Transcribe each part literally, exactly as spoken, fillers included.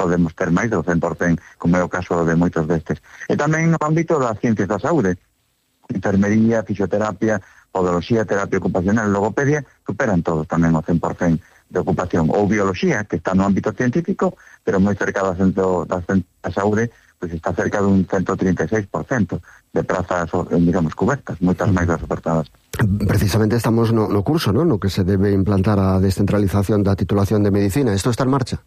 podemos ter máis do cen por cen, como é o caso de moitos destes. E tamén no ámbito das ciencias da saúde, enfermería, fisioterapia, podoloxía, terapia ocupacional, logopedia, superan todos tamén o cen por cen de ocupación. Ou bioloxía, que está no ámbito científico, pero moi cerca do centro da, da saúde, pois está cerca dun ciento trinta e seis por cento de prazas, digamos, cubertas, moitas máis das ofertadas. Precisamente estamos no, no curso, ¿no?, no que se debe implantar a descentralización da titulación de medicina. Isto está en marcha?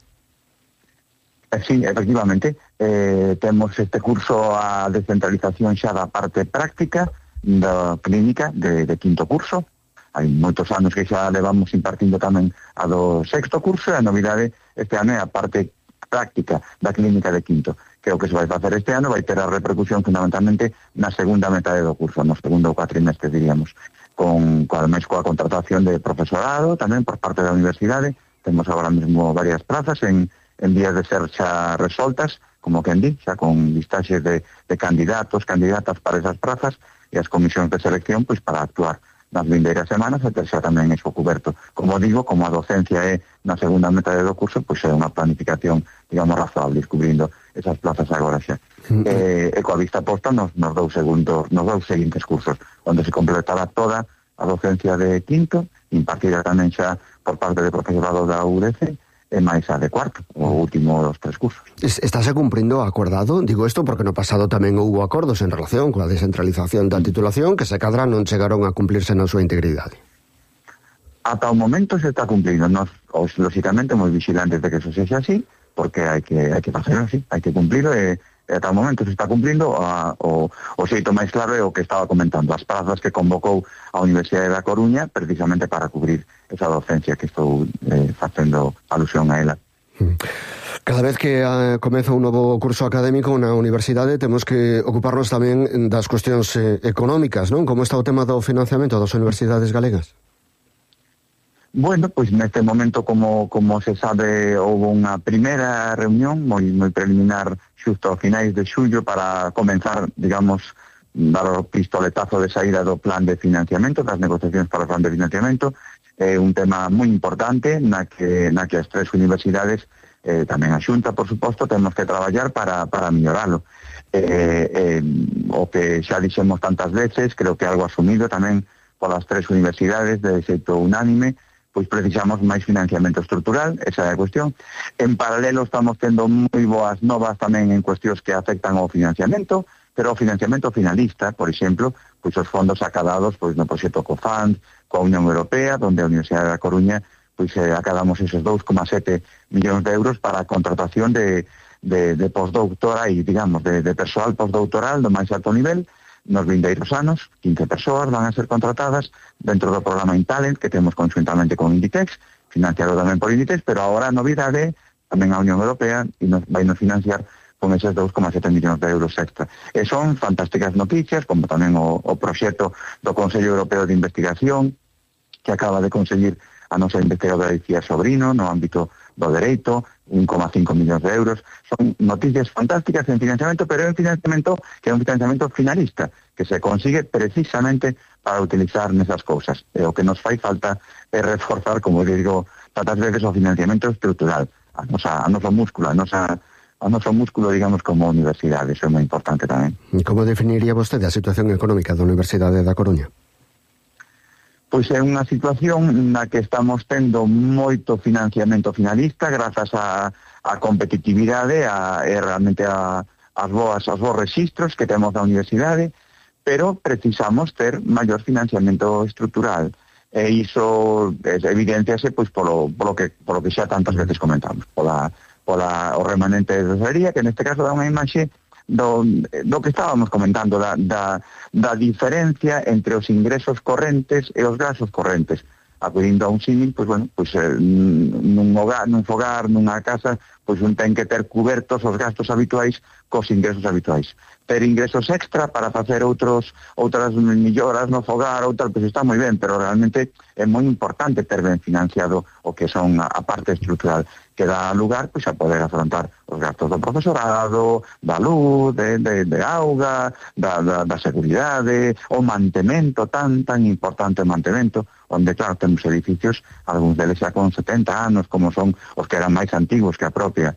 Sí, efectivamente, eh, temos este curso a descentralización xa da parte práctica da clínica de, de quinto curso. Hai moitos anos que xa levamos impartindo tamén a do sexto curso, e a novidade este ano é a parte práctica da clínica de quinto, que é o que se vai facer este ano, vai ter a repercusión fundamentalmente na segunda metade do curso, no segundo cuatrimestre, diríamos, con, con ademais coa contratación de profesorado tamén por parte da universidade. Temos agora mesmo varias plazas en en vías de ser xa resoltas, como quen di, xa con listaxes de, de candidatos, candidatas para esas plazas, e as comisións de selección pois para actuar nas vindeiras semanas e ter xa tamén eso coberto. Como digo, como a docencia é na segunda metade do curso, pois é unha planificación, digamos, razonable, descubrindo esas plazas agora xa. Mm-hmm. E, e coa vista posta nos, nos dous segundos, nos dous seguintes cursos, onde se completará toda a docencia de quinto, impartida tamén xa por parte de profesorado da U D C, e máis a de cuarto, o último dos tres cursos. Estáse cumprindo acordado? Digo isto porque no pasado tamén houve acordos en relación coa descentralización da titulación que se cadra non chegaron a cumplirse na súa integridade. Ata o momento se está cumplindo. Nos, os, lógicamente, moi vigilantes de que eso sexa así, porque hai que, hai que facerlo así, hai que cumplirlo, e, e ata o momento se está cumplindo. A, o, o xeito máis claro é o que estaba comentando, as plazas que convocou a Universidade da Coruña precisamente para cubrir esa docencia que estou eh, facendo alusión a ela. Cada vez que uh, comeza un novo curso académico na universidade temos que ocuparnos tamén das cuestións eh, económicas, non? Como está o tema do financiamento das universidades galegas? Bueno, pois neste momento, como como se sabe, houve unha primeira reunión moi moi preliminar xusto a finais de xullo para comenzar, digamos, dar o pistoletazo de saída do plan de financiamento, das negociacións para o plan de financiamento. É un tema moi importante na que na que as tres universidades, eh, tamén a Xunta, por suposto, temos que traballar para, para melloralo. Eh, eh, o que xa dixemos tantas veces, creo que algo asumido tamén polas tres universidades de xeito unánime, pois precisamos máis financiamento estrutural, esa é a cuestión. En paralelo estamos tendo moi boas novas tamén en cuestións que afectan ao financiamento, pero o financiamento finalista, por exemplo, pois os fondos acadados pois no proxecto COFAND, coa Unión Europea, donde a Universidade da Coruña pois eh, acadamos esos dous coma sete millóns de euros para a contratación de, de, de postdoctoral e, digamos, de, de persoal postdoctoral do máis alto nivel. Nos vindeiros anos, quince persoas van a ser contratadas dentro do programa InTalent que temos conjuntamente con Inditex, financiado tamén por Inditex, pero agora a novidade tamén a Unión Europea e nos vai nos financiar con eses dous coma sete millóns de euros extra. E son fantásticas noticias, como tamén o, o proxecto do Consello Europeo de Investigación, que acaba de conseguir a nosa investigadora Icía Sobrino no ámbito do dereito, un coma cinco millóns de euros. Son noticias fantásticas en financiamento, pero é un financiamento que é un financiamento finalista, que se consigue precisamente para utilizar nesas cousas. E o que nos fai falta é reforzar, como digo tantas veces, o financiamento estrutural, a nosa, a noso músculo, a nosa a noso músculo, digamos, como universidade. Eso é moi importante tamén. Como definiría vostede a situación económica da Universidade da Coruña? Pois é unha situación na que estamos tendo moito financiamento finalista grazas a, a competitividade a, e realmente a, as boas, os bons registros que temos da universidade, pero precisamos ter maior financiamento estrutural. E iso evidenciase pois polo, polo, que, polo que xa tantas veces comentamos, pola, pola o remanente de tesorería, que neste caso dá unha imaxe Do, do que estábamos comentando, da, da, da diferencia entre os ingresos correntes e os gastos correntes. Acudindo a un símil, pois, bueno, pois, eh, nun, hogar, nun fogar, nunha casa, pois un ten que ter cubertos os gastos habituais cos ingresos habituais. Ter ingresos extra para facer outros outras melloras no fogar ou tal, pois está moi ben, pero realmente é moi importante ter ben financiado o que son a, a parte estrutural, que dá lugar pois a poder afrontar os gastos do profesorado, da luz, de, de, de auga, da, da, da seguridade, o mantemento, tan, tan importante o mantemento, onde, claro, temos edificios, algúns deles xa con setenta anos, como son os que eran máis antigos que a propia